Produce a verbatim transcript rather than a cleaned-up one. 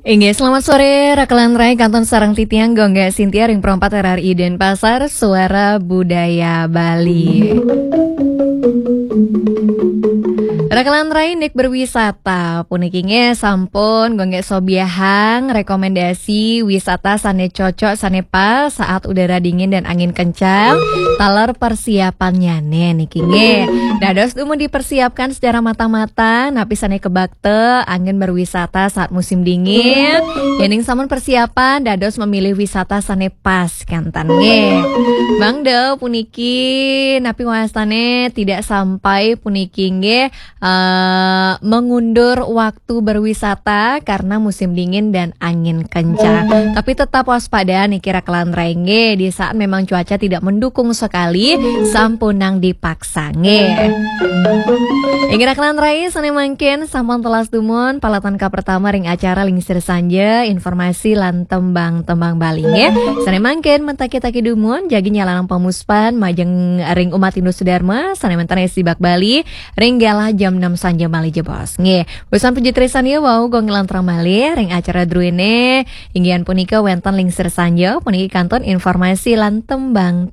Inggih, selamat sore, Rakelan Rai, kantun sareng titiang Gongga Sintia ring Pro empat R R I Denpasar, Suara Budaya Bali. Rakelan Rai, nik berwisata puniki nggih sampun Gongga sobiahang rekomendasi wisata sane cocok, sane pas saat udara dingin dan angin kencang. Taler persiapannyane niki nggih dados dumun dipersiapkan secara matang-matang, napi sane kebakta anggen berwisata saat musim dingin. Yening sampun persiapan, dados memilih wisata sane pas kenten nggih. Mangda puniki napi wastane tidak sampai puniki nggih, eh, mengundur waktu berwisata karena musim dingin dan angin kencang. Tapi tetap waspada niki, Rakelan Rai nggih, di saat memang cuaca tidak mendukung sekali, sampunang dipaksa nggih. Inggih, Rakelan Rai, sane mangkin sampun telas dumun palatan kapertama ring acara Lingsir Sanja, informasi lan tembang-tembang Bali nggih. Sane mangkin mentaki-taki dumun, jagi nyalalang pamuspan majeng ring umat Hindu Sudarma, sane wenten ring Sibak Bali, ring galah jam enam sanja malih jebos nggih. Usan puji trisan ya wau Gong Lantrang malih ring acara druene, inggihan punika wenten Lingsir Sanja, puniki kantun informasi lan tembang-tembang